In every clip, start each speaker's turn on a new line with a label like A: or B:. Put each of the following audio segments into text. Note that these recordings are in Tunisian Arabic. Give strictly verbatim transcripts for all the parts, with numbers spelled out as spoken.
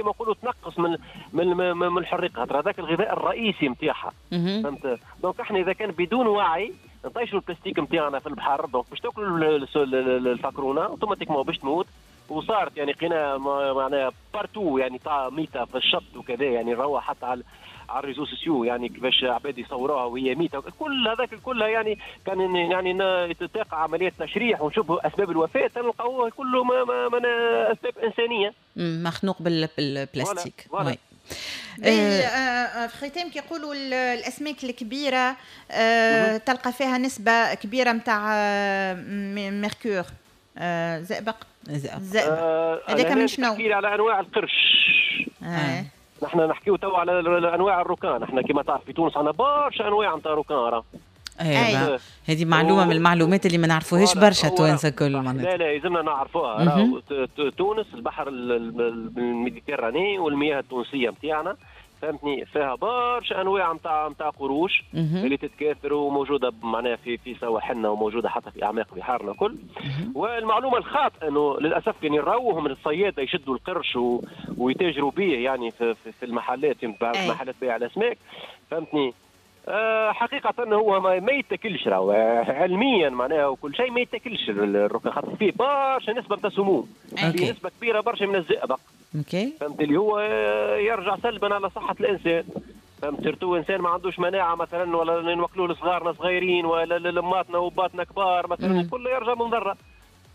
A: كما نقولوا تنقص من من من الحريقه، خاطر هذاك الغذاء الرئيسي نتاعها. فهمت؟ donc احنا اذا كان بدون وعي نطيشوا البلاستيك نتاعنا في البحر، donc باش تاكلوا الفاكرونه automatiquement باش تموت. وصارت يعني قنا معناها partout يعني تاع ميته في الشط وكذا، يعني نروح حتى على على ال réseaux sociaux يعني كيفاش عباد يصوروها وهي ميته، كل هذاك الكل يعني كان يعني تقع عملية تشريح ونشوفوا اسباب الوفاة نلقاوه كله ما ما من اسباب انسانيه،
B: مخنوق بالبلاستيك.
A: voilà.
C: في ختام كيقولوا الاسماك الكبيرة آه تلقى فيها نسبه كبيرة نتاع mercure، آه زئبق.
B: زئبق
C: هذاك من شنو؟
A: نحكي على انواع القرش.
C: آه.
A: نحن نحكيو تو على انواع ال requin، نحن كما تعرف في تونس عندنا برشا انواع نتاع requin راه.
B: ايوه هذه معلومة من المعلومات اللي ما نعرفوهاش برشا توانسة كل.
A: معناتها لا لا يلزمنا نعرفوها. تونس البحر ال Méditerranée والمياه التونسية نتاعنا فهمتني فيها برشا انواع نتاع نتاع قروش اللي تتكاثر وموجودة معناها في في سواحلنا وموجودة حتى في اعماق بحارنا كل. والمعلومه الخاطئة انه للاسف يعني نراوهم الصياده يشدوا القرش و... ويتاجروا به يعني في, في, في المحلات، في محلات بيع الاسماك فهمتني. أه حقيقة هو ما, ما يتاكلش راهو علميا معناها وكل شيء ما يتاكلش ال requin، خاطر فيه برشا نسبة نتاع سموم، فيه نسبة كبيرة برشا من الزئبق.
B: okay.
A: فهمت اللي هو يرجع سلبا على صحة الإنسان. فهمت surtout إنسان ما عندوش مناعة مثلا، ولا نوكلوه لصغارنا صغيرين ولا لماتنا وباتنا كبار مثلا، كله يرجع من ضرة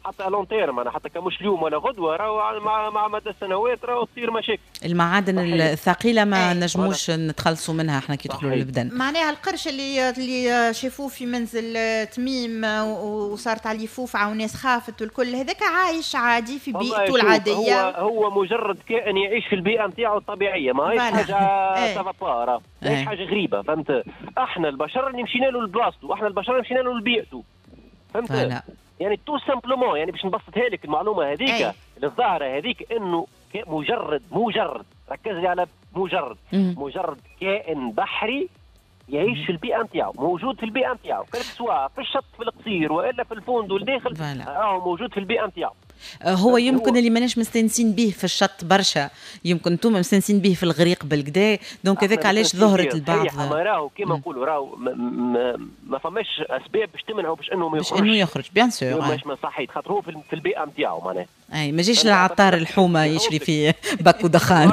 A: حتى long terme، انا حتى كمش اليوم ولا غدوه راهو مع مع مدى السنوات راهو تصير مشاكل.
B: المعادن الثقيلة ما نجموش نتخلصوا منها احنا كي يدخلوا للبدن.
C: معناها القرش اللي اللي شافوه في منزل تميم وصارت عليه فوفعه وناس خافت والكل، هذاك عايش عادي في بيئته العادية.
A: هو هو مجرد كائن يعيش في البيئة نتاعو الطبيعية، ما هيش حاجة ça va pas، ماهيش حاجة غريبة فهمت. احنا البشر اللي مشينا له لبلاصتو، احنا البشر اللي مشينا له لبيئته فهمت. يعني tout simplement يعني باش نبسطها لك المعلومة هذيك الظاهرة هذيك انه مجرد مجرد ركز لي على مجرد مم. مجرد كائن بحري يعيش في البيئة نتاعو، موجود في البيئة نتاعو، سواء في الشط في القصير والا في الفوند والداخل، راهو موجود في البيئة نتاعو.
B: هو يمكن اللي ماناش مستانسين به في الشط برشا، يمكن انتم مستانسين به في الغريق بالكدا، donc هذاك علاش ظهرت البعض.
A: ما راهو كيما نقولوا راهو ما, ما, ما فماش اسباب باش تمنعه باش انه ما يخرج،
B: باش انه يخرج bien sûr
A: مش ما صحيت، خاطر هو في البيئة نتاعو معناها.
B: اي ما جيش للعطار الحومه يشري في باكو دخان.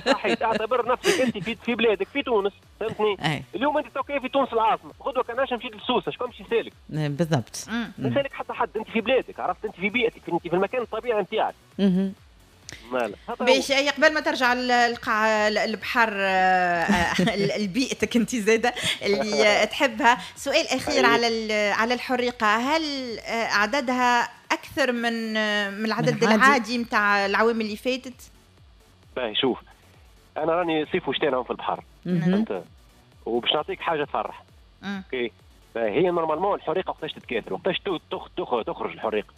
A: صحيت، اعتبر نفسك انت في في بلادك في تونس فهمتني. اليوم انت توكي في تونس العاصمة، غدوه كان مشيت لسوسه شكون باش يسالك؟
B: بالضبط،
A: ما يسالك حتى حد، انت في بلادك عرفت، انت في بيئتك، انت في المكان الطبيعي نتاعك.
C: باش قبل ما ترجع القاع البحر لبيئتك انت زاده اللي تحبها، سؤال اخير على على الحريقه، هل عددها اكثر من من العدد العادي نتاع العوام اللي فاتت؟
A: باهي شوف، انا راني صيف وشتاء نعوم في البحر فهمت، وباش نعطيك حاجة تفرح. okay، هي normalement الحريقه وقتاش تتكاثر، وقتاش تخرج الحريقه؟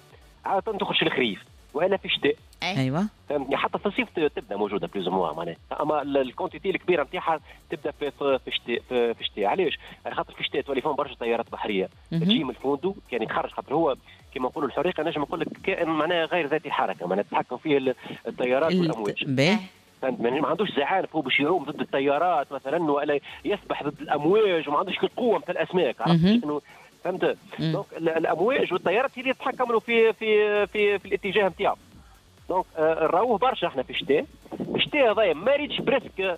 A: عادة تخرج في الخريف والا في الشتاء.
B: ايوه
A: فهمتني، حتى في الصيف تبدا موجودة plus ou moins معناها، اما ال quantité الكبيرة نتاعها تبدا في في الشتاء. في الشتاء علاش؟ على خاطر في الشتاء تولي فيهم برشا تيارات بحرية تجي من الفوندو يعني تخرج، خاطر هو كما نقولوا الحريقه نجم نقول لك كائن معناها غير ذاتي الحركة، معناها تتحكم فيه التيارات والامواج. فهمت، ما عندوش زعانف هو باش يعوم ضد التيارات مثلا، ولا يسبح ضد الامواج، وما عندوش القوة مثل الاسماك عرفت انه فهمت. donc الامواج والتيارات هي اللي تتحكم له في في في في الاتجاه نتاعو. donc نراوه برشا احنا في الشتاء. الشتاء هذايا ما ريتش presque،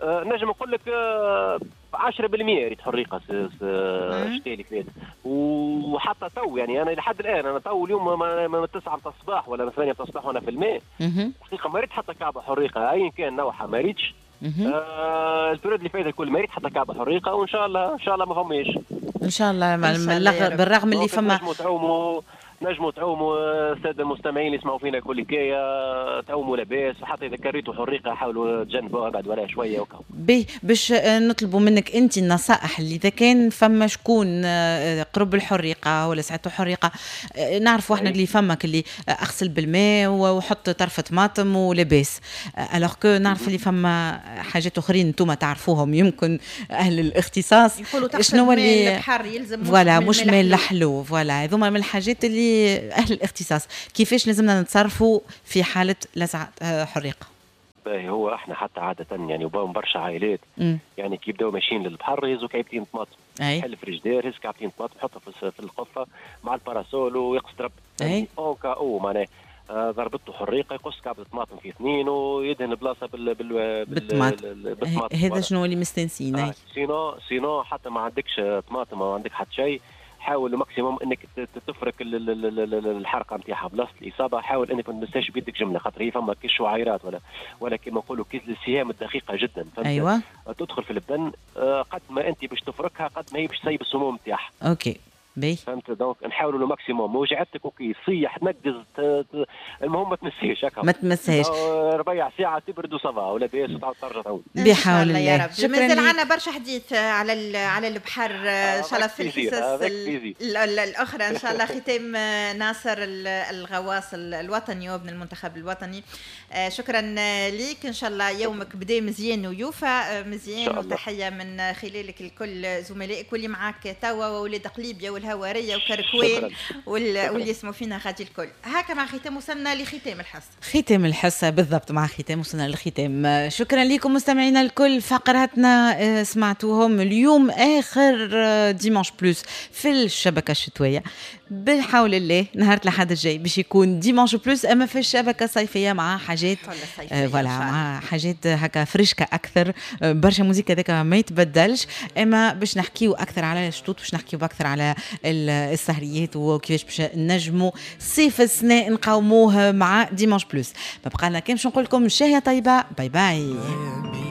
A: آه نجم نقول لك آه عشرة بالمية ريت حريقة الشتاء اللي فات، وحتى تو يعني انا لحد الان انا تو اليوم من تسعة نتاع الصباح ولا من ثمانية نتاع الصباح وانا في الماء، الحقيقة ما ريت حتى كعبه حريقة ايا كان نوعها ما ريتش. آه ال période اللي فات الكل ما ريت حتى كعبه حريقة، وان شاء الله ان شاء الله ما فماش
B: ان شاء الله، بالرغم اللي فما
A: تعوموا نجموا تعوموا السادة المستمعين اللي يسمعوا فينا كل حكاية تعوموا لاباس، وحتى اذا كريتوا حريقة حاولوا تجنبوها بعد ولا شوية وكا.
B: باهي، باش نطلبوا منك انت النصائح اللي اذا كان فما شكون قرب الحريقه ولا ساعته حريقة، نعرفوا احنا اللي فما اللي اغسل بالماء وحط طرف طماطم ولاباس، alors que نعرف اللي فما حاجات اخرين انتم تعرفوهم يمكن اهل الاختصاص.
C: يقولوا شنو اللي البحر يلزم
B: voilà مش ماء الحلو، voilà هذوما من الحاجات اللي اهل الاختصاص كيفاش لازمنا نتصرفوا في حاله لسعه حريقة.
A: باهي، هو احنا حتى عادة يعني وباهم برشا عائلات يعني كي يبداو ماشيين للبحر يهزوا كعبتين طماطم، يحل فريجدير يهز كعبتين طماطم يحطها في القفه مع ال parasol ويقصد ربي يعني au cas où معناها ضربته حريقة يقص كعبه طماطم في اثنين ويدهن البلاصة بال بال
B: بالطماطم. هذا شنو اللي مستانسين.
A: آه. sinon sinon حتى ما عندكش طماطم ما عندك حتى شيء، حاول maximum انك تفرك الحرقة نتاعها بلاصة الاصابة، حاول انك ما تمسهاش بيدك جملة، خاطر هي فما كي شعيرات ولا ولا كيما نقولوا كي السهام الدقيقة جدا.
B: ايوه
A: تدخل في البدن قد ما انت باش تفركها قد ما هي باش تسيب السموم نتاعها.
B: OK باهي
A: فهمت. donc نحاولوا le maximum، وجعتك OK صيح تنقز، المهم ما تمسيش هكا
B: ما تمسهاش
A: ربيع ساعة تبرد و ça va ولا باس وتعاود ترجع تعود
B: بحول الله
C: يا رب. مازال عندنا برشا حديث على على البحر ان شاء الله في الحصص الاخرى ان شاء الله. ختام ناصر الغواص الوطني وابن المنتخب الوطني، شكرا ليك، ان شاء الله يومك بدا مزيان ويوفى مزيان، وتحية من خلالك لكل زملائك واللي معاك توا وولاد قليبيا والهواريه وكركوين واللي يسمعوا فينا غادي الكل. هكا مع ختام وصلنا لختام الحصة.
B: ختام الحصة بالضبط، مع ختام وصلنا للختام. شكرا لكم مستمعينا الكل، فقراتنا سمعتوهم اليوم اخر dimanche plus في الشبكة الشتوية بحول الله. نهار الاحد الجاي باش يكون dimanche plus اما في الشبكة الصيفية مع حاجات voilà مع حاجات هكا فريشكا اكثر، برشا musique هذاك ما يتبدلش، اما باش نحكيو اكثر على الشطوط، باش نحكيو اكثر على السهريات وكيفاش باش نجموا صيف السنة نقاوموه مع dimanche plus. ما بقى لنا كان باش نقول لكم شهية طيبة، bye bye.